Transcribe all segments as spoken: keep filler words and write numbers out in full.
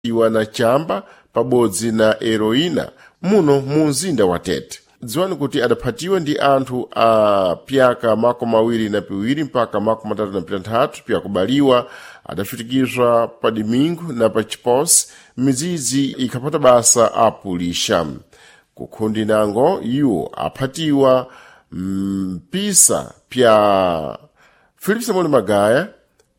Iwa na chamba pabodzi na heroína muno mu mzinda wa Tete. Dziwani kuti adaphatiwa ndi anthu a pyaka makumi awiri na piwiri mpaka makumi atatu na pitanthatu pyakubaliwa, adafitikizwa pa Domingo na pa Chiposi midzidzi ikhapata basa apulixa. Kukhundi nango iwo aphatiwa mpisa pya Filipe Samuel Magaya,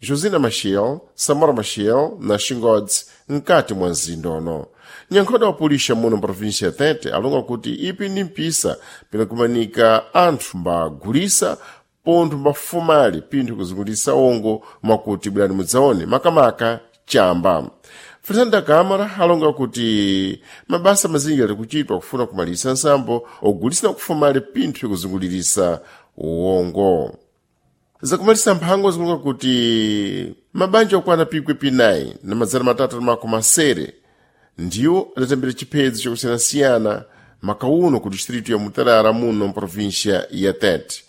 Josina Machel, Samora Machel na Xingodzi mkati mwa mzinda uno. Nyankhoda wa pulixa muno mprovinsia ya Tete alonga kuti ipi ndi mpisa pinakumanika anthu mbagulisa pontho mbafumali pinthu kuzungulisa ongo mwakuti bwerani mudzaone makamaka chamba. Fernando Câmara alonga kuti mabasa mazinji ali kuchitwa kufuna kumalisa nsambo ogulisa na kufumali pinthu kuzungulirisa uwongo. Zakumalisa mphango zikulonga kuti mabanja okwana pikwi pinayi na madzana matatu na makumi asere ndiwo adatambira chiphedzo chakusiyanasiyana makauno ku distritu ya Mutarara muno mprovinsia ya Tete.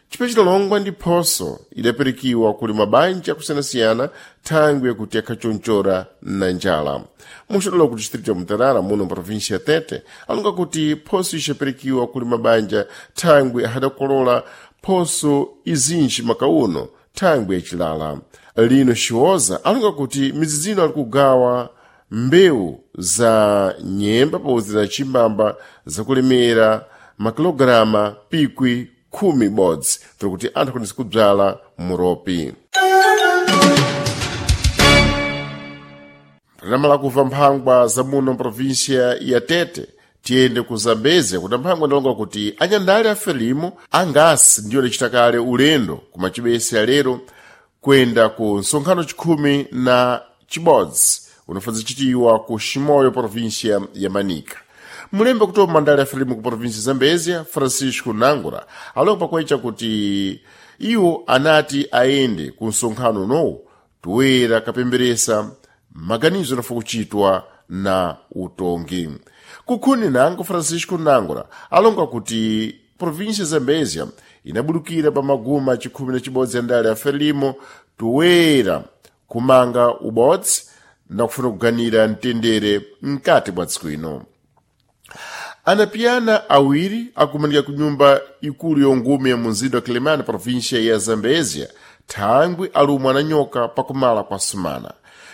Chiphedzo chidalongwa ndi phoso idapirikiwa kuli mabanja akusiyanasiyana thangwi yakuti akhachonchora na njala. Muxodolo ku distritu ya Mutarara muno mprovinsia ya Tete alonga kuti phoso ixapirikiwa kuli mabanja thangwi ahadakolola phoso izinji makauno thangwi yacilala. Lino Xiwoza alonga kuti midzidzino ali kugawa mbewu za nyemba pabodzi na chimbamba zakulemera makilogirama pikwi khumi bodzi kuti anthu akwanise kubzala muropi. Panamala kuva mphangwa za muno mprovinsia ya Tete tiyende ku Zambezia kuti mphangwa ndalonga kuti anyandale a Frelimo angasi ndiyo adacita kale ulendo ku machibese alero kuyenda ku nsonkhano chikhumi na chibodzi unofanza chitiwa ku Chimoio província ya Manica. Mulembe kutopa mandali a Frelimo ku província Zambezia, Francisco Nangura, alonga pakwecha kuti iwo anati ayende ku nsonkhano unowu toyera kapemberesa maganizo anafa kuchitwa na utongi. Kukhuni nango Francisco Nangura alonga kuti província Zambezia inabulukira pa maguma chikhumi na chibodzi ya ndale ya Frelimo toyera kumanga ubodzi na kufuna kuganira mtendere mkati mwa dziko ino. Anapiyana awiri akumanika ku nyumba ikulu yongume ya munzinda wa Quelimane província ya Zambezia thangwi alumwa na nyoka pakumala kwa sumana.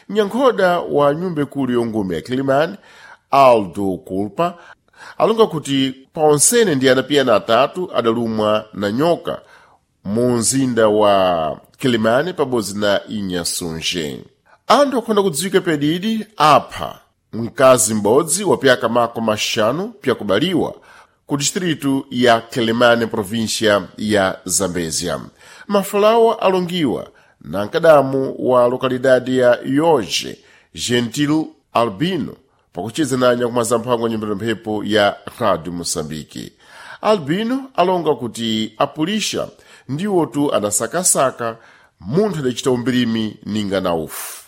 Nyankhoda wa nyumba ikulu yongume ya Quelimane Aldo Culpa alonga kuti paonsene ndi anapiyana atatu adalumwa na nyoka mu mzinda wa Quelimane pabodzi na Inhasunge. Anthu akhonda kudziwika pedidi apha mkazi m'bodzi wa pyaka makumi axanu pyakubaliwa ku distritu ya Quelimane província ya Zambezia. Mafalawa alongiwa na mkadamu wa lokalidade ya Yoge Gentil Albino pakucheza na nyakumaza mphango nyumba mphepo ya Radio Moçambique. Albino alonga kuti apulixa ndiwotu adasakasaka munthu adacita umbirimi ninga na ufu.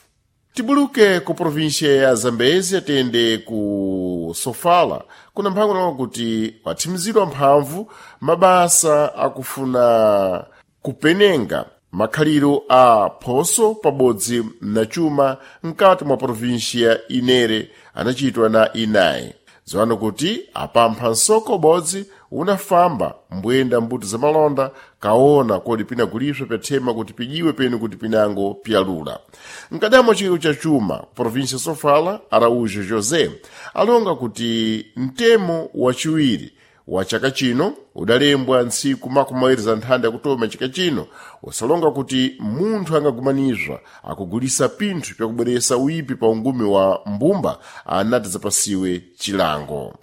Tibuluke ku província ya Zambezia tiyende ku Sofala kuna mphango nalonga kuti wathimizidwa mphamvu mabasa akufuna kupenenga makhaliro a phoso pabodzi na chuma mkati mwa província inere anachitwa na inayi. Dziwani kuti apampha nsoko ubodzi unafamba mbuyenda mbuto za malonda kaona kodi pinaguliswa pyathema kuti pijiwe penu kuti pinango pyalula. Mkadamo chikiko cha chuma ku província Sofala Araújo José alonga kuti mtemo wachiwiri wa chaka chino udalembwa ntsiku makumi awiri za nthanda yakutoma chaka chino usalonga kuti munthu angagumanizwa akugulisa pinthu pyakubweresa uyipi pa ungumi wa mbumba anati zapasiwe chilango.